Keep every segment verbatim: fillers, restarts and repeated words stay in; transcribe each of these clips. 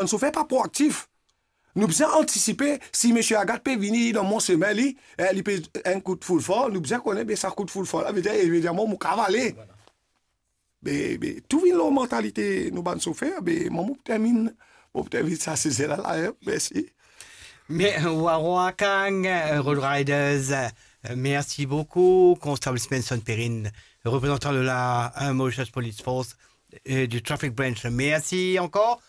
bann sofer pa proaktif. Nou bizin antisipe, si misie Agathe pe vini dan mo semin li, eh, li pe enn kout foul for, nou bizin kone, be sa kout foul for la, vedir, vedir mwa, mo kav ale. Be, be, tou vinn lor mantalite nou bann sofer, be, mwa, mo pou terminn, mo pou terminn sa size la, la, eh, mersi. Me, Wawa Kang, euh, Road Riders, euh, merci beaucoup. Constableman Spencer Perrine, représentant de la, euh, Mauritius Police Force, euh, du Traffic Branch, merci encore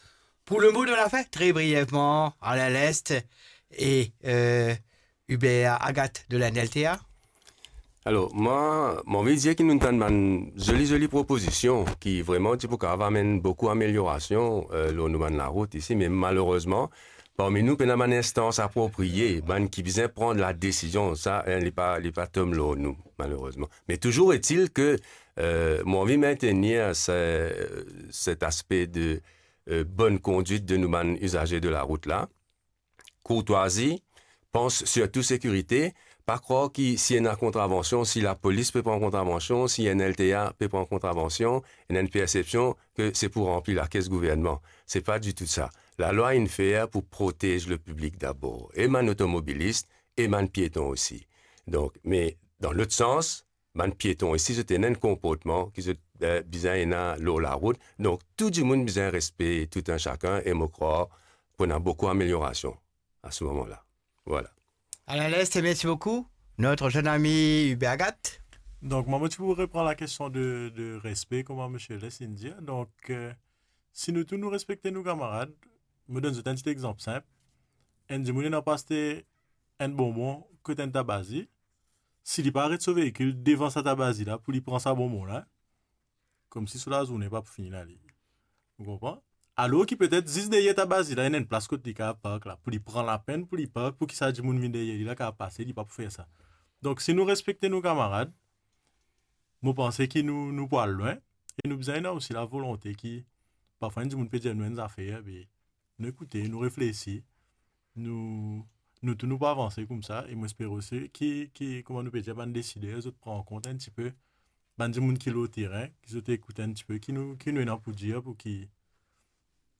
pour le mot de la fin, très brièvement, Alain Leste et, euh, Hubert Agathe de la N L T A. Alor, mwa, mo anvi dir ki nou tann bann zoli, zoli propozision ki vreman ti pou kav amenn boukou ameliorasion, euh, lor nou bann larout isi, me malerezman, parmi nou, pena bann instans apropriye, bann ki bizin pran ladesizion, sa, hein, li pa, li pa tom lor nou, malerezman. Me touzour etil ke, euh, mo anvi mintenir se, set aspe de, euh, bonn kondwit de nou bann izaze de larout la. Kourtwazi, pans sirtou sekirite, pa krwar ki si ena kontravansion, si lapolis pe pran kontravansion, si N L T A pe pran kontravansion, ena enn persepsion ke se pou ranpli lakes gouvernman. Se pa ditou sa. Lalwa inn fer pou protez lepiblik dabor, e bann otomobilis, e bann pieton osi. Donk, me dan lot sans, bann pieton isi, zot ena enn konportman ki zot, eh, bizin ena lor larout. Donk, tou dimoun bizin respe tou enn sakenn, e mo krwar pou ena boukou ameliorasion a se moman la. Vwala. Alain Leste, merci beaucoup. Notre jeune ami Hubert Agathe. Donk, mwa, mo ti pou repran lakestion de, de respe, kouma misie Leste inn dir. Donk, eh, si nou tou nou respekte nou kamarad, mo donn zot enn ti exanp sinp. Enn dimoun ena pou aste enn bonbon kot enn tabazi, si li pa aret so veikil devan sa tabazi la pou li pran sa bonbon la, koumsi so lazourne pa pou fini la li. Ou konpran? Alor ki petet zis deryer tabazi la, ena enn plas kot li kav park la, pou li pran lapenn pou li park, pou ki sa dimoun vinn deryer li la kav pase, li pa pou fer sa. Donk, si nou respekte nou kamarad, mo panse ki nou, nou pou al lwin, e nou bizin ena osi lavolonte ki, parfwa enn dimoun pe dir nou enn zafer, be, nou ekoute, nou reflesi, nou, nou tou nou pou avanse koumsa, e mo espere osi ki, ki, kouma nou pe dir, bann desider, zot pran an kont enn tipe bann dimoun ki lor terin, ki zot ekout enn tipe ki nou, ki nou ena pou dir pou ki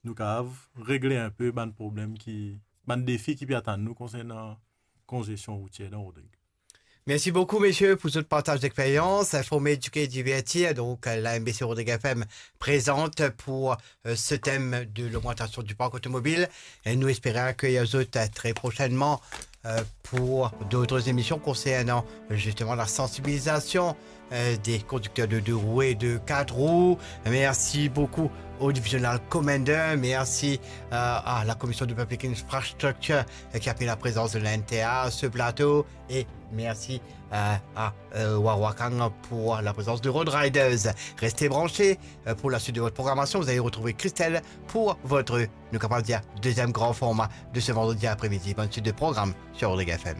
nou kav regle enpe bann problem ki, bann defi ki pe atann nou konsernan konzestion routier dan Rodrig. Merci beaucoup, messieurs, pour ce partage d'expérience. Informer, éduquer, divertir. Donc, euh, la M B C Rodrig F M présente pour, euh, ce thème de l'augmentation du parc automobile. Et nous espérons accueillir vous autres, euh, très prochainement, euh, pour d'autres émissions concernant, euh, justement la sensibilisation, euh, des conducteurs de deux roues et de quatre roues. Merci beaucoup au Divisional Commander. Merci, euh, à la Commission de Public Infrastructure, euh, qui a permis la présence de la N T A à ce plateau. Et merci, euh, à, euh, Wawa Kang pour la présence de Road Riders. Restez branchés, euh, pour la suite de votre programmation. Vous allez retrouver Christelle pour votre, nou kapav dir, deuxième grand format de ce vendredi après-midi. Bonne suite de programme sur Rodrig F M.